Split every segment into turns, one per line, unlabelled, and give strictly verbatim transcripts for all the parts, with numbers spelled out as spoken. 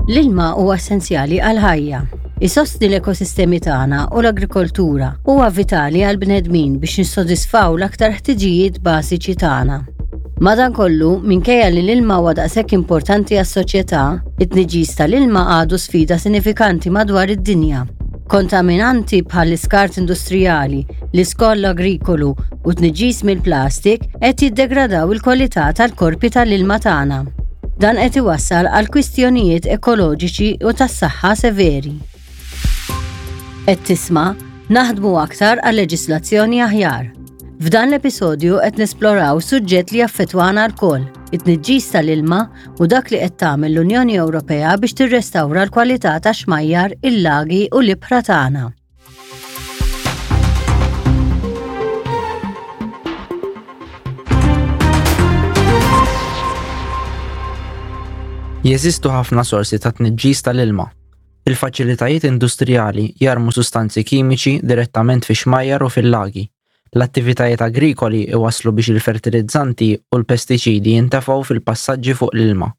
L-ilma huwa essenzjali għal-ħajja. Isostni l-ekosistemi tagħna u l-agrikoltura huwa vitali għal bnedmin biex nissodisfaw l-aktar ħtiġijiet bażiċi tagħna. Madankollu, minkejja li l-ilma huwa daqshekk importanti għas-soċjetà, it-tniġġis tal-ilma għadu sfida sinifikanti madwar id-dinja. Kontaminanti bħal iskart industrijali, l-iskart agrikolu u tniġġis mill-plastik qed jiddegradaw il-kwalità tal-korpi tal-ilma tagħna. Dan qed iwassal għal kwistjonijiet ekoloġiċi u tas-saħħa severi. Qed tisma' naħdmu aktar għal leġislazzjoni aħjar. F'dan l-episodju qed nesploraw suġġett li jaffettwana lkoll, it-tniġġis tal-ilma u dak li qed tagħmel l-Unjoni Ewropea biex tirrestawra l-kwalità tax-xmajjar, il-lagi u l-ibħra tagħna.
Jeżistu ħafna sorsi ta' tniġġis tal-ilma. Il-faċilitajiet industrijali jarmu sustanzi kimiċi direttament fi xmajjar u fil-lagi. L-attivitajiet agrikoli iwasslu biex il-fertilizzanti u l-pestiċidi jintefgħu fil-passaġġi fuq l-ilma.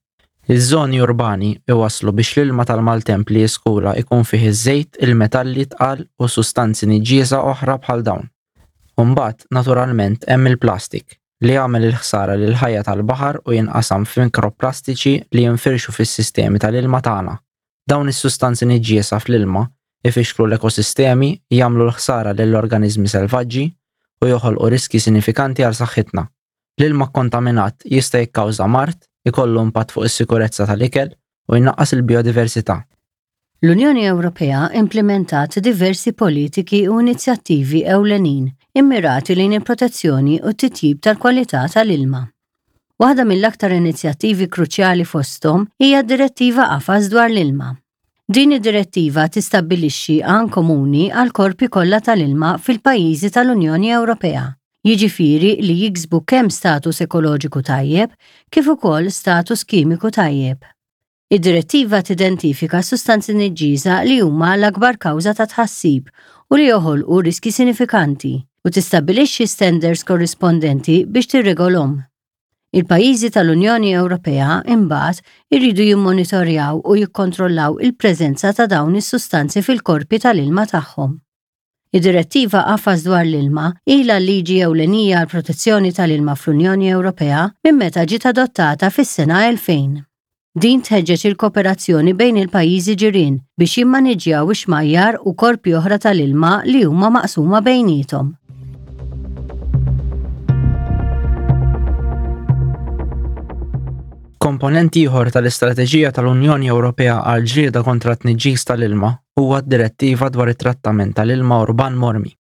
Iż-żoni urbani iwasslu biex l-ilma tal-maltemp li jiskula ikun fih iż-żejt, il-metalli tqal u sustanzi niġġiesa oħra bħal dawn. Imbagħad, naturalment, hemm il-plastik li jagħmel il-ħsara lil ħajja tal-baħar u jinqasam f'mikroplastiċi li jinfirxu fis-sistemi tal-ilma tagħna. Dawn is-sustanzi niġġiesa fl-ilma ifixklu l-ekosistemi, jagħmlu l-ħsara lill-organiżmi selvaġġi u joħolqu riski sinifikanti għal saħħitna. L-ilma kontaminat jista' jikkawża mard, ikollu impatt fuq is-sikurezza tal-ikel u jnaqqas il-biodiversità.
L-Unjoni Ewropea implementat diversi politiki u inizjattivi ewlenin immirati lejn il-protezzjoni u t-titjib tal-kwalità tal-ilma. Waħda mill-aktar inizjattivi kruċjali fosthom hija d-Direttiva Qafas dwar l-ilma. Din id-direttiva tistabbilixxi għan komuni għal korpi kollha tal-ilma fil-pajjiżi tal-Unjoni Ewropea, jiġifieri li jiksbu kemm status ekoloġiku tajjeb kif ukoll status kimiku tajjeb. Id-direttiva tidentifika sustanzi niġġiesa li huma l-akbar kawża ta' tħassib u li joħolqu riski sinifikanti u tistabbilixxi standards korrispondenti biex tirregolhom. Il-pajjiżi tal-Unjoni Ewropea imbagħad iridu jimmonitorjaw u jikkontrollaw il-preżenza ta' dawn is-sustanzi fil-korpi tal-ilma tagħhom. Id-direttiva qafas dwar l-ilma ilha l-liġi ewlenija għal protezzjoni tal-ilma fl-Unjoni Ewropea minn meta ġiet adottata fis-sena elfejn. Din tħeġġeġ il-kooperazzjoni bejn il-pajjiżi ġirien biex jimmaniġġjaw ix-xmajjar u korpi oħra tal-ilma li huma maqsuma bejniethom.
Komponent ieħor tal-istrateġija tal-Unjoni Ewropea għal ġlieda kontra t-tniġġis tal-ilma huwa d-direttiva dwar it-trattament tal-ilma urban mormi.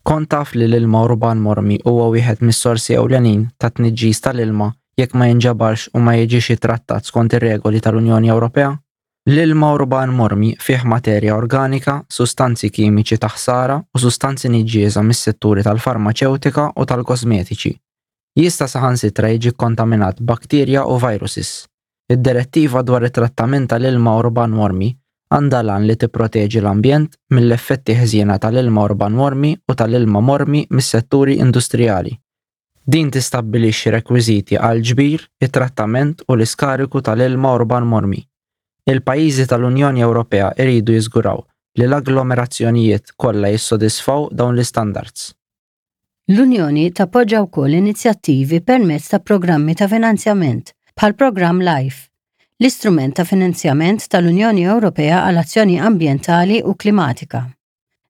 Kont taf li l-ilma urban mormi huwa wieħed mis-sorsi ewlenin ta' tniġġis tal-ilma jekk ma jinġabarx u ma jiġix ittrattat skont ir-regoli tal-Unjoni Ewropea? L-ilma urban mormi fih materja organika, sustanzi kimiċi ta' ħsara u sustanzi niġġiesa mis-setturi tal-farmaċewtika u tal-kosmetiċi. Jista' saħansitra jiġi kkontaminat b'bakterja u viruses. Id-direttiva dwar it-trattament tal-ilma urban mormi għandha l-għan li tipproteġi l-ambjent mill-effetti ħżiena tal-ilma urban mormi u tal-ilma mormi mis-setturi industrijali. Din tistabbilixxi rekwiżiti għal ġbir, it-trattament u l-iskariku tal-ilma urban mormi. Il-pajjiżi tal-Unjoni Ewropea jridu jiżguraw li l-agglomerazzjonijiet kollha jissodisfaw dawn l-istandards.
L-Unjoni tappoġġa wkoll inizjattivi permezz ta' programmi ta' finanzjament bħal programm LIFE, l-istrument ta' finanzjament tal-Unjoni Ewropea għal azzjoni ambjentali u klimatika.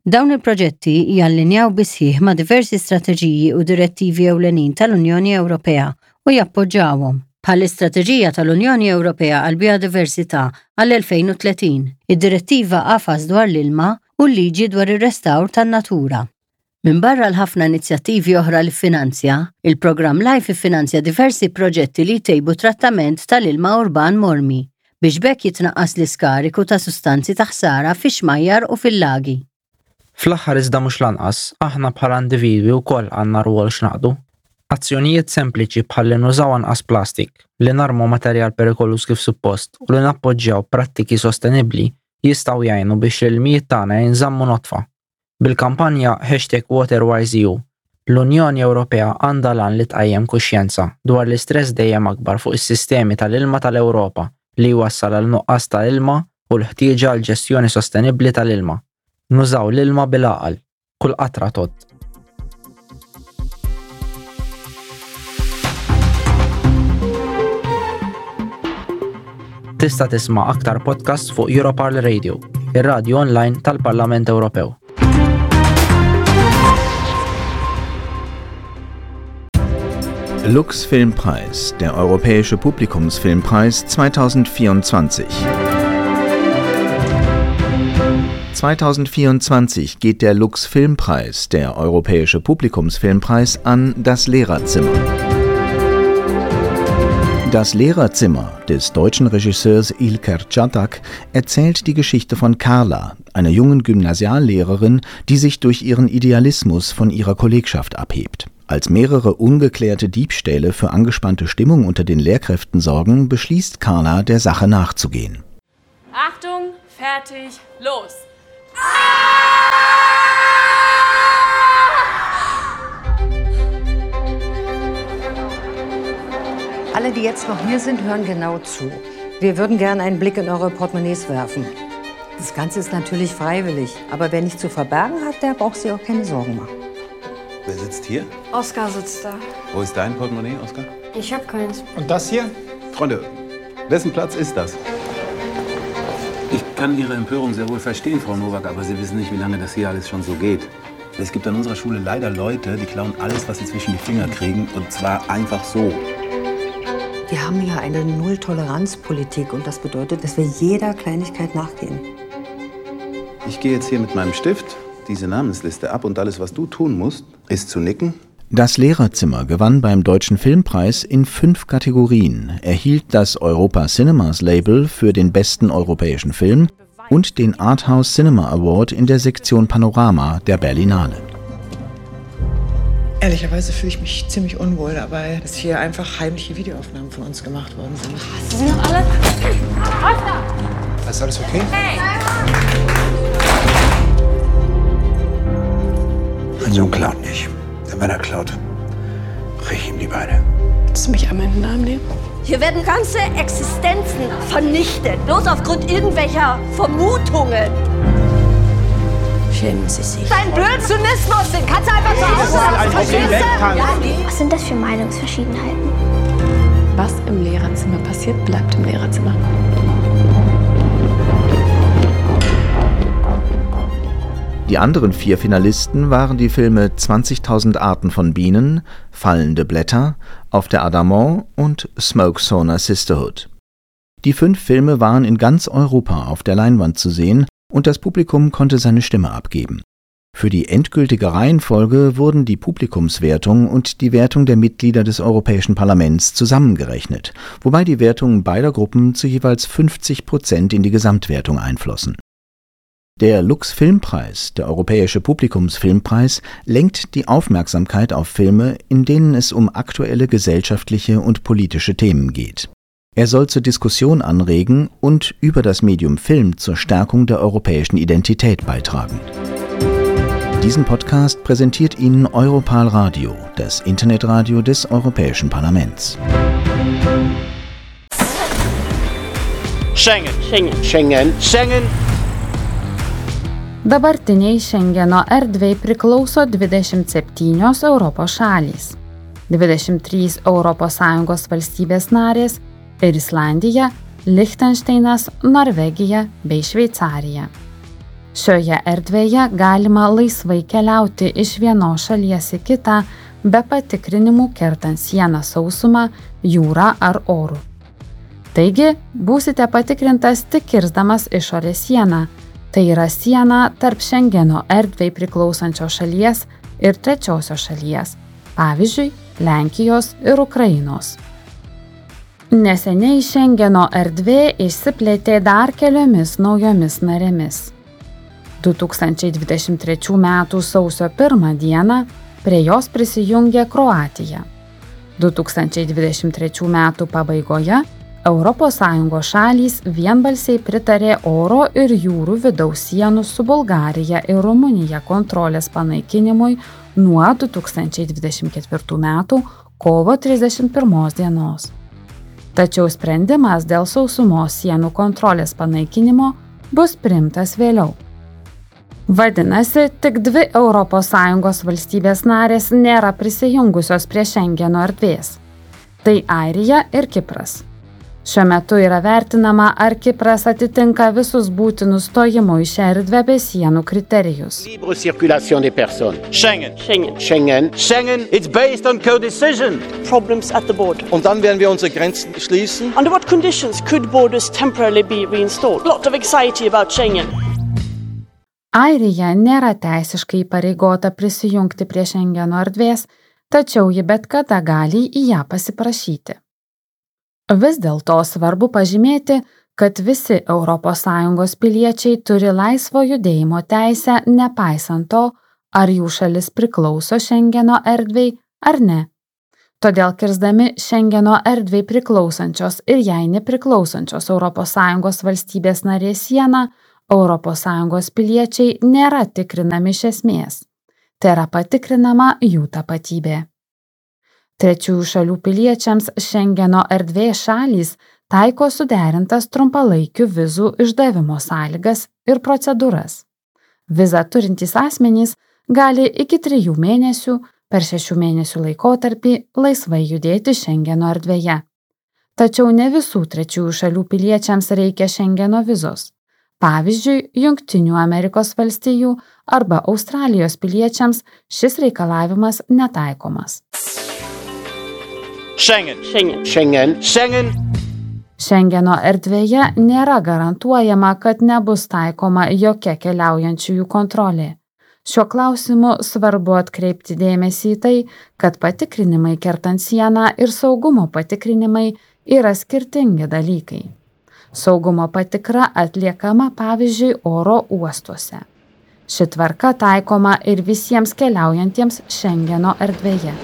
Dawn il-proġetti jallinjaw bisħiħ ma' diversi strateġiji u direttivi ewlenin tal-Unjoni Ewropea u jappoġġawhom, bħall-Istrateġija tal-Unjoni Ewropea għal Biodiversità għall-elfejn u tletin, id-Direttiva Qafas dwar l-ilma u l-Liġi dwar ir-restawr tan-natura. Minbarra l-ħafna inizjattivi oħra li ffinanzja, il-programm LIFE iffinanzja diversi proġetti li jtejbu trattament tal-ilma urban mormi biex b'hekk jitnaqqas l-iskariku ta' sustanzi ta' ħsara fix-xmajjar u fil-lagi.
Fl-aħħar iżda mhux lanqas, aħna bħala individwi wkoll għandna rwol x'naqdu. Azzjonijiet sempliċi bħal li nużaw anqas plastik, li narmu materjal perikoluż kif suppost u li nappoġġjaw prattiki sostenibbli jistgħu jgħinu biex l-ilmijiet tagħna jinżammu notfa. Bil-kampanja hashtag WaterWiseEU, l-Unjoni Ewropea għandha l-għan li tqajjem kuxjenza dwar l-istress dejjem akbar fuq is-sistemi tal-ilma tal-Ewropa li jwassal għal nuqqas ta' ilma u l-ħtieġa għal ġestjoni sostenibbli tal-ilma. Nużaw l-ilma bil-għaqal, kull qatra tgħodd. Tista' tisma' aktar podcasts fuq Europarl Radio, ir-radju online tal-Parlament Ewropew.
Lux Filmpreis, der Europäische Publikumsfilmpreis zweitausendvierundzwanzig. zweitausendvierundzwanzig geht der Lux Filmpreis, der Europäische Publikumsfilmpreis, an Das Lehrerzimmer. Das Lehrerzimmer des deutschen Regisseurs Ilker Çatak erzählt die Geschichte von Carla, einer jungen Gymnasiallehrerin, die sich durch ihren Idealismus von ihrer Kollegschaft abhebt. Als mehrere ungeklärte Diebstähle für angespannte Stimmung unter den Lehrkräften sorgen, beschließt Carla, der Sache nachzugehen.
Achtung, fertig, los!
Alle, die jetzt noch hier sind, hören genau zu. Wir würden gerne einen Blick in eure Portemonnaies werfen. Das Ganze ist natürlich freiwillig, aber wer nichts zu verbergen hat, der braucht sich auch keine Sorgen machen.
Wer sitzt hier?
Oskar sitzt da.
Wo ist dein Portemonnaie, Oskar?
Ich hab keins.
Und das hier?
Freunde, wessen Platz ist das?
Ich kann Ihre Empörung sehr wohl verstehen, Frau Nowak, aber Sie wissen nicht, wie lange das hier alles schon so geht.
Es gibt an unserer Schule leider Leute, die klauen alles, was sie zwischen die Finger kriegen, und zwar einfach so.
Wir haben ja eine Null-Toleranz-Politik und das bedeutet, dass wir jeder Kleinigkeit nachgehen.
Ich gehe jetzt hier mit meinem Stift diese Namensliste ab und alles, was du tun musst, ist zu nicken.
Das Lehrerzimmer gewann beim Deutschen Filmpreis in fünf Kategorien, erhielt das Europa Cinemas Label für den besten europäischen Film und den Arthouse Cinema Award in der Sektion Panorama der Berlinale.
Ehrlicherweise fühle ich mich ziemlich unwohl dabei, dass hier einfach heimliche Videoaufnahmen von uns gemacht worden sind.
Hast du sie noch alle? Oskar!
Ist alles okay?
Hey!
Mein Sohn klaut nicht. Denn wenn er klaut, brech ich ihm die Beine.
Willst du mich einmal in den Arm nehmen?
Hier werden ganze Existenzen vernichtet, bloß aufgrund irgendwelcher Vermutungen.
Schämen Sie sich.
Dein blöden Zynismus, den kannst du einfach zu Hause lassen, verstehst du? Ja.
Was sind das für Meinungsverschiedenheiten?
Was im Lehrerzimmer passiert, bleibt im Lehrerzimmer.
Die anderen vier Finalisten waren die Filme zwanzigtausend Arten von Bienen, Fallende Blätter, Auf der Adamant und Smoke Sauna Sisterhood. Die fünf Filme waren in ganz Europa auf der Leinwand zu sehen und das Publikum konnte seine Stimme abgeben. Für die endgültige Reihenfolge wurden die Publikumswertung und die Wertung der Mitglieder des Europäischen Parlaments zusammengerechnet, wobei die Wertungen beider Gruppen zu jeweils fünfzig Prozent in die Gesamtwertung einflossen. Der Lux Filmpreis, der Europäische Publikumsfilmpreis, lenkt die Aufmerksamkeit auf Filme, in denen es um aktuelle gesellschaftliche und politische Themen geht. Er soll zur Diskussion anregen und über das Medium Film zur Stärkung der europäischen Identität beitragen. Diesen Podcast präsentiert Ihnen Europarl Radio, das Internetradio des Europäischen Parlaments.
Schengen. Schengen. Schengen. Schengen.
Dabartiniai Šengeno erdvei priklauso dvidešimt septynios Europos šalys, dvidešimt trys Europos Sąjungos valstybės narės ir Islandija, Lichtenšteinas, Norvegija bei Šveicarija. Šioje erdvėje galima laisvai keliauti iš vienos šalies į kitą be patikrinimų kertant sieną sausuma, jūrą ar oru. Taigi, būsite patikrintas tik kirsdamas išorės sieną, tai yra siena tarp Šengeno erdvei priklausančios šalies ir trečiosios šalies, pavyzdžiui, Lenkijos ir Ukrainos. Neseniai Šengeno erdvė išsiplėtė dar keliomis naujomis narėmis. du tūkstančiai dvidešimt trečių metų sausio pirmą dieną prie jos prisijungė Kroatija. du tūkstančiai dvidešimt trečių metų pabaigoje Europos Sąjungos šalys vienbalsiai pritarė oro ir jūrų vidaus sienų su Bulgarija ir Rumunija kontrolės panaikinimui nuo du tūkstančiai dvidešimt ketvirtų metų kovo trisdešimt pirmos dienos. Tačiau sprendimas dėl sausumos sienų kontrolės panaikinimo bus priimtas vėliau. Vadinasi, tik dvi Europos Sąjungos valstybės narės nėra prisijungusios prie Šengeno erdvės. Tai Airija ir Kipras. Šiuo metu yra vertinama, ar Kipras atitinka visus būtinus stojimo į šią erdvę be sienų kriterijus.
Libre circulation des personnes.
Schengen.
Schengen.
Schengen.
Schengen. It's based on co-decision.
Problems at the border.
Und dann werden wir unsere Grenzen schließen.
Under what conditions could borders temporarily be reinstalled? Lot of anxiety about Schengen.
Airija nėra teisiškai įpareigota prisijungti prie Šengeno erdvės, tačiau ji bet kada gali į ją pasiprašyti. Vis dėlto svarbu pažymėti, kad visi Europos Sąjungos piliečiai turi laisvo judėjimo teisę, nepaisant to, ar jų šalis priklauso Šengeno erdvei ar ne. Todėl kirsdami Šengeno erdvei priklausančios ir jai nepriklausančios Europos Sąjungos valstybės narės sieną, Europos Sąjungos piliečiai nėra tikrinami iš esmės. Tai yra patikrinama jų tapatybė. Trečiųjų šalių piliečiams Šengeno erdvės šalys taiko suderintas trumpalaikių vizų išdavimo sąlygas ir procedūras. Vizą turintys asmenys gali iki trijų mėnesių per šešių mėnesių laikotarpį laisvai judėti Šengeno erdvėje. Tačiau ne visų trečiųjų šalių piliečiams reikia Šengeno vizos. Pavyzdžiui, Jungtinių Amerikos valstijų arba Australijos piliečiams šis reikalavimas netaikomas.
Schengen.
Schengen.
Schengen.
Schengen.
Šengeno erdvėje nėra garantuojama, kad nebus taikoma jokia keliaujančiųjų kontrolė. Šiuo klausimu svarbu atkreipti dėmesį į tai, kad patikrinimai kertant sieną ir saugumo patikrinimai yra skirtingi dalykai. Saugumo patikra atliekama, pavyzdžiui, oro uostuose. Ši tvarka taikoma ir visiems keliaujantiems Šengeno erdvėje.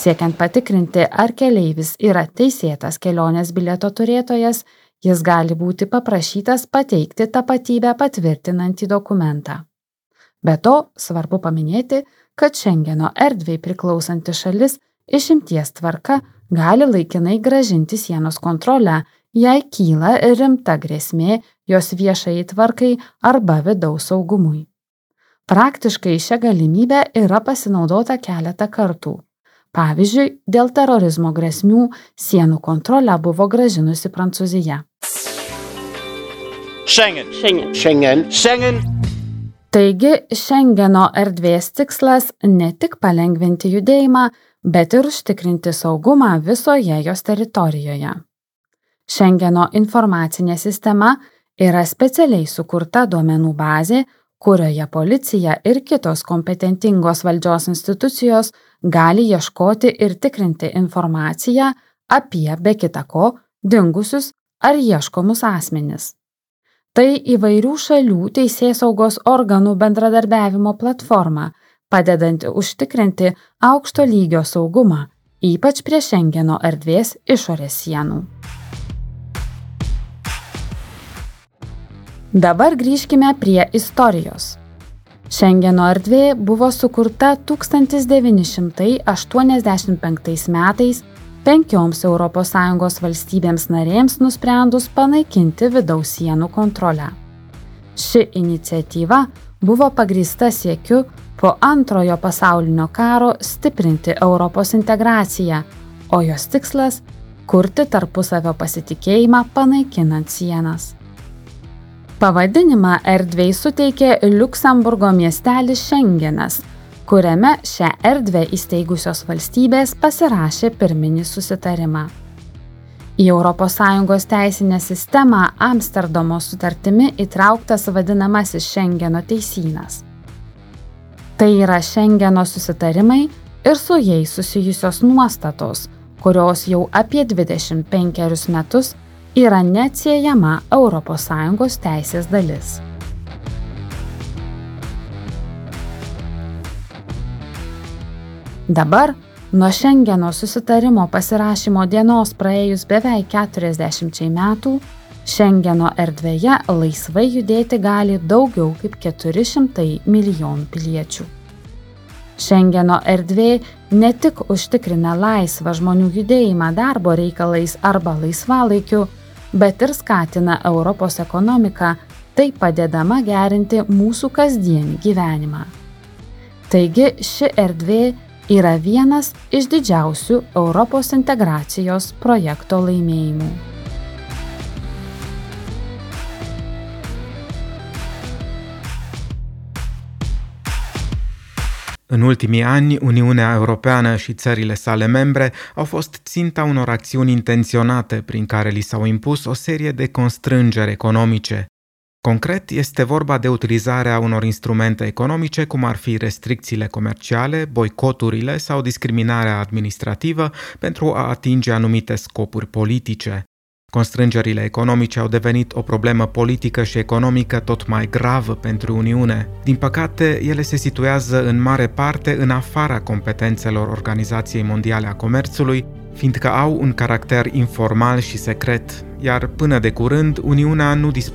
Siekiant patikrinti, ar keleivis yra teisėtas kelionės bilieto turėtojas, jis gali būti paprašytas pateikti tapatybę patvirtinantį dokumentą. Be to, svarbu paminėti, kad Šengeno erdvei priklausanti šalis išimties tvarka gali laikinai grąžinti sienos kontrolę, jei kyla rimta grėsmė jos viešajai tvarkai arba vidaus saugumui. Praktiškai šia galimybe yra pasinaudota keletą kartų. Pavyzdžiui, dėl terorizmo grėsmių sienų kontrolę buvo grąžinusi Prancūzija.
Schengen.
Schengen.
Schengen.
Schengen.
Taigi, Šengeno erdvės tikslas ne tik palengvinti judėjimą, bet ir užtikrinti saugumą visoje jos teritorijoje. Šengeno informacinė sistema yra specialiai sukurta duomenų bazė, kurioje policija ir kitos kompetentingos valdžios institucijos gali ieškoti ir tikrinti informaciją apie, be kita ko, dingusius ar ieškomus asmenis. Tai įvairių šalių teisėsaugos organų bendradarbiavimo platforma, padedanti užtikrinti aukšto lygio saugumą, ypač prie Šengeno erdvės išorės sienų. Dabar grįžkime prie istorijos. Šengeno erdvė buvo sukurta tūkstantis devyni šimtai aštuoniasdešimt penktais metais penkioms Europos Sąjungos valstybėms narėms nusprendus panaikinti vidaus sienų kontrolę. Ši iniciatyva buvo pagrįsta siekiu po antrojo pasaulinio karo stiprinti Europos integraciją, o jos tikslas – kurti tarpusavio pasitikėjimą panaikinant sienas. Pavadinimą erdvei suteikė Liuksemburgo miestelis Šengenas, kuriame šią erdvę įsteigusios valstybės pasirašė pirminį susitarimą. Į Europos Sąjungos teisinę sistemą Amsterdamo sutartimi įtrauktas vadinamasis Šengeno teisynas. Tai yra Šengeno susitarimai ir su jais susijusios nuostatos, kurios jau apie dvidešimt penkerius metus yra neatsiejama Europos Sąjungos teisės dalis. Dabar, nuo Šengeno susitarimo pasirašymo dienos praėjus beveik keturiasdešimčiai metų, Šengeno erdvėje laisvai judėti gali daugiau kaip keturi šimtai milijonų piliečių. Šengeno erdvė ne tik užtikrina laisvą žmonių judėjimą darbo reikalais arba laisvalaikiu, bet ir skatina Europos ekonomiką, taip padėdama gerinti mūsų kasdienį gyvenimą. Taigi ši erdvė yra vienas iš didžiausių Europos integracijos projekto laimėjimų.
În ultimii ani, Uniunea Europeană și țările sale membre au fost ținta unor acțiuni intenționate prin care li s-au impus o serie de constrângeri economice. Concret, este vorba de utilizarea unor instrumente economice, cum ar fi restricțiile comerciale, boicoturile sau discriminarea administrativă, pentru a atinge anumite scopuri politice. Constrângerile economice au devenit o problemă politică și economică tot mai gravă pentru Uniune. Din păcate, ele se situează în mare parte în afara competențelor Organizației Mondiale a Comerțului, fiindcă au un caracter informal și secret, iar până de curând Uniunea nu dispunea